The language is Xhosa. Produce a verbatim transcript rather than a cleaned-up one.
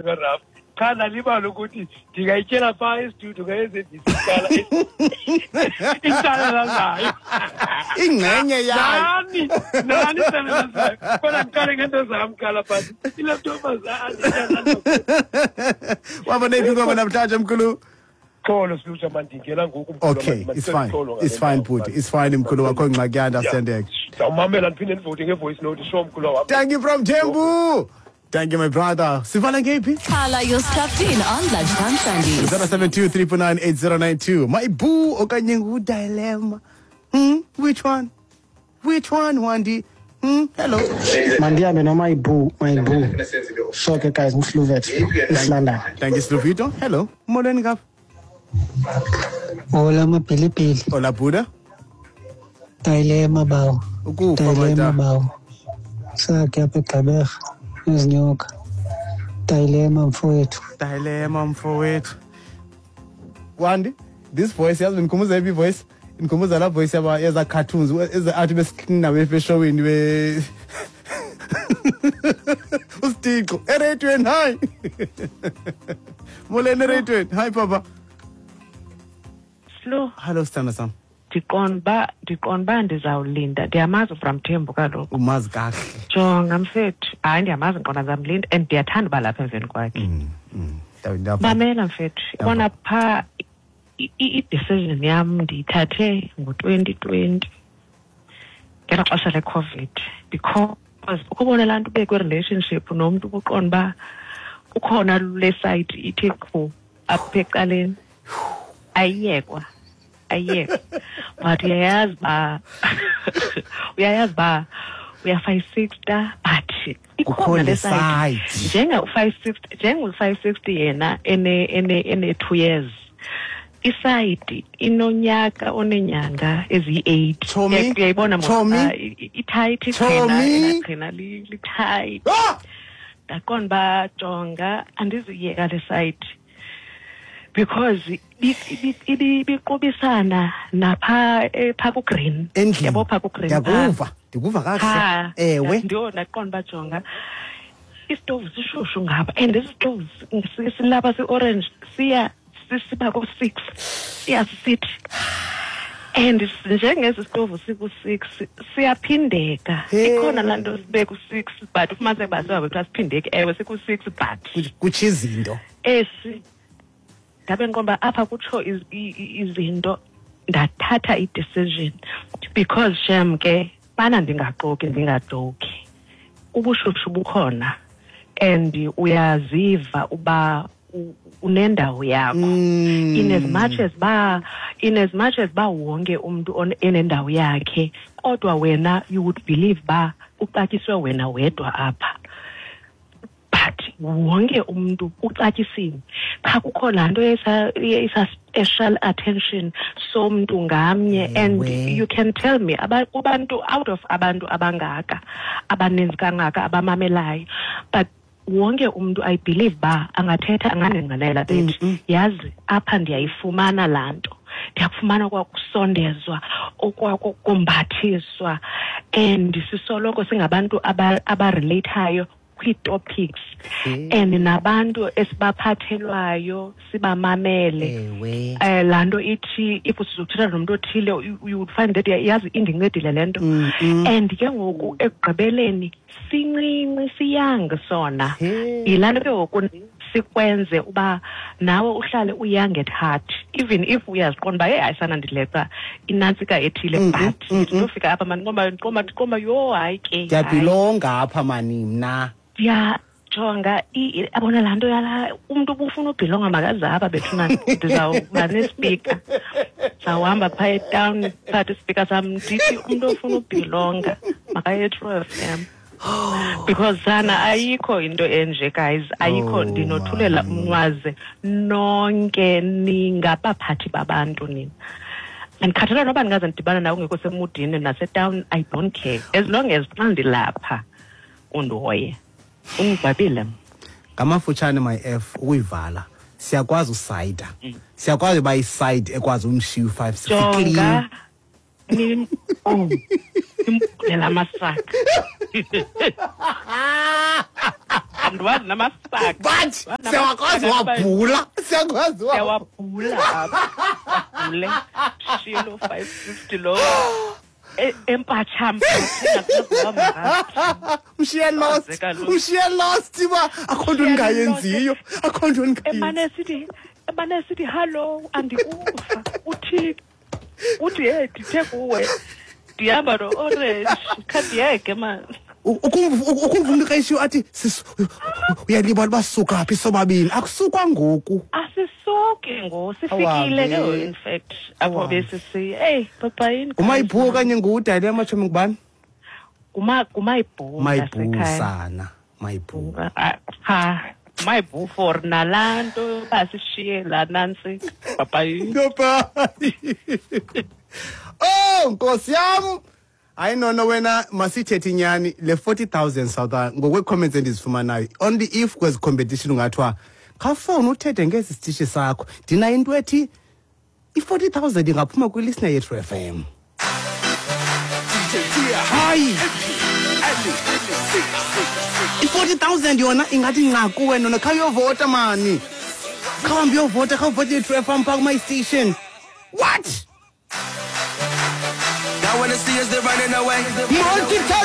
Karaf qha ndalibala ukuthi ndingayityela phaa estudio ka-S A B C iqala icala lazayo. Ingxenye yayo. Nani nani icala lazayo, kodwa ndiqale ngento zam qala, but ilaptop azange. Waba neyiphi ingoma namhlanje, mkhulu? Xolo silutsha, mandingena ngoku, mkhulu. Okay, it's fine, it's fine bhuti, it's fine, mkhulu wakho, ngxaki ya-understandeka. Ndawumamela ndiphinde ndivote nge-voice note, sure, mkhulu wam. Thank you from Thembu, thank you, my brother. Sivala ngeyiphi? Khala, you're strapped in on Lunchtime Sundays. zero seven two, three four nine, eight zero nine two. My boo okanye ngu-dilemma, hmm which one, which one, Wandi? hmm hello Mandihambe noma ibu, my boo. Sure ke guys, nguSluvet, East London. Thank you, Sluvito. Hello, molweni ngapha. Hola, mapilipili. Hola, buda. Dilemma, bawo. Ukufa. Dilemma. Mata. Bawo. Sakhe apha eGqeberha izinyoka. Dilemma, mfowethu. Dilemma, mfowethu. Wandi, this voice, yazi ndikhumbuza yiphi voice? Ndikhumbuza laa voice yaba yeza cartoons eze athi besiklina befeshowini be usitixo ereyidweni. Hayi, molweni ereyidweni. Hayi, papa. Slo. Hello, sithanda sam. Ndiqonda uba ndiqonda uba ndizawulinda. Ndiyamazi uBramthembu kaloku. Umazi kakuhle. Jonga mfethu, hayi, ndiyamazi, ndiqonda ndizamlinda and ndiyathanda uba lapha emveni kwakhe. Mm, mm. Ndiyava. Mamela mfethu, ibona phaa i- i- i-decision yam ndiyithathe ngo-twenty twenty ngelo xesha leCOVID, because ukubona laa nto ube kwi-relationship nomntu ubuqonda uba ukhona le side ithe qhu apha ecaleni, ayiyekwa, ayiyekwa, but uyayazi uba uyayazi uba uya-five sixty, but Kukho ikhona le le side. Side. Njenga-five sixty, njengo-five sixty yena ene ene ene two years, isayidi inonyaka oneenyanga eziyi-eight. Chomi, Uyayibona mos, Chomi, ah, i- i- itight iqhina. Chomi. Ela qhina li- li-tight. Ah! Ndaqonda uba jonga, andizuyiyeka le side because ibi- ibi- ibi- ibiqubisana napha eh, phaa ku-green. Endlini. Yabo, phaa ku-green phaa. Ndiyakuva, ndikuva kakuhle. Phaa. Ewe. Ndiyo, ndaqonda uba jonga, isitovu sishushu ngapha and esi sitovu si- silapha si-orange, siya si- siba ko-six, siya sisithi and s- njengesi sitovu siku-six siyaphindeka. Hey. Ikhona laa nto sibe ku-six but ufumaniseke uba sihambe kuthiwa siphindeki. Ewe, siku-six but Kutsho izinto. Esi ndabe ndiqonda uba apha kutsho iz- i- i- izinto. Ndathatha i-decision because shem ke bana, ndingaxoki, ndingajoki, ubushushu bukhona and uyaziva uba u- unendawo yakho. Mm. in as much as ba in as much as ba wonke umuntu on- enendawo yakhe, kodwa wena you would believe ba uxatyiswe wena wedwa apha, but wonke umuntu uxatyisiwe, qha kukho laa nto esa esa special attention somntu ngamnye and Ewe. you can tell me aba- kubantu, out of abantu abangaka, abaninzi kangaka abamamelayo, but wonke umntu, I believe ba angathetha, angandingqinela bethi yazi apha ndiyayifumana laa nto, ndiyakufumana kwakusondezwa, okwakumbathiswa, and sisoloko singabantu aba- abarelate-ayo kwii-topics and nabantu esibaphathelwayo sibamamele. Ewe. eh laa nto ithi if sizothetha nomntu othile, you you would find that yazi indincedile le nto Mm, mm. and ke ngoku ekugqibeleni sincinci, siyang sona. Hey. Yilaa nto ke ngoku sikwenze uba nawe uhlale uyoung at heart, even if uyaziqonda uba heyi, hayi sana, ndileqa inantsika ethile, Mm, but mm, mm, ndizofika apha mani, ndiqomba ndiqomba ndiqomba yho, hayi ke, hayi. Ndiyabhilonga apha mani mna. Ndiyajonga i- i- yabona laa nto yala umntu ubufuna ubhilonga, makaze apha bethuna, ndizawuba nespeaker, ndizawuhamba phaa etawuni, ndiphathe ispeaker sam, ndithi umntu ofuna ubhilonga makaye eTru F M, because sana ayikho into enje, guys, ayikho. Oh, Ndinothulela man. umnqwazi nonke, ningabaphathi babantu nina. Andikhathala noba ndingaze ndidibana nawe ungekho semudini nasetawuni, I don't care, as long as xa ndilapha undihoye, ungigwabile. Ngamafutshane, my f, ukuyivala, siyakwazi usayida, siyakwazi uba iside ekwazi umshiya u-five six. Jonga, nim oh nimbulela amasaka. Andiwazi namasaka. But siyakwazi wabhula, siyakwazi wabhula apha. Bhule. Shiye lo five fifty lo. Empatsha mshiye lost, mshiye lost uba akho nto ndingayenziyo, akho nto ndingayenziyo. Emane sithi, emane sithi hello, andikuva. Uthi uthi hey, ndithe kuwe ndihamba no-orange, khandiyeke man. Ukumva umntu xa athi uyalibala uba sisuka phi sobabini, akusukwa ngoku. Asisuki ngoku, sifikile ke in fact apho besisiya. Hey, bye-bye. Ngumayibhu okanye nguDayile amatshomi ngubani? Nguma ngumayibhu. Mayibhu sana, mayibhu. Ha, mayibhu for nalaa nto basishiye laa nantsi. Bye-bye. Bye-bye. Oh, Nkosi yam. Hayi nono wena masithethe inyani le forty thousand South ngokwe-comments endizifumanayo only if kwezi competition ungathiwa khawufowuni uthethe ngesi sitishi sakho ndinayo into ethi i-forty thousand ingaphuma kwi-listener yethu F M. Hayi i-forty thousand yona ingathi nqa kuwe nona khawuyovota mani, khawuhambe uyovota, khawuvote yethu F M phaa kuma station. What? I wanna see us, they're running away. Multitask!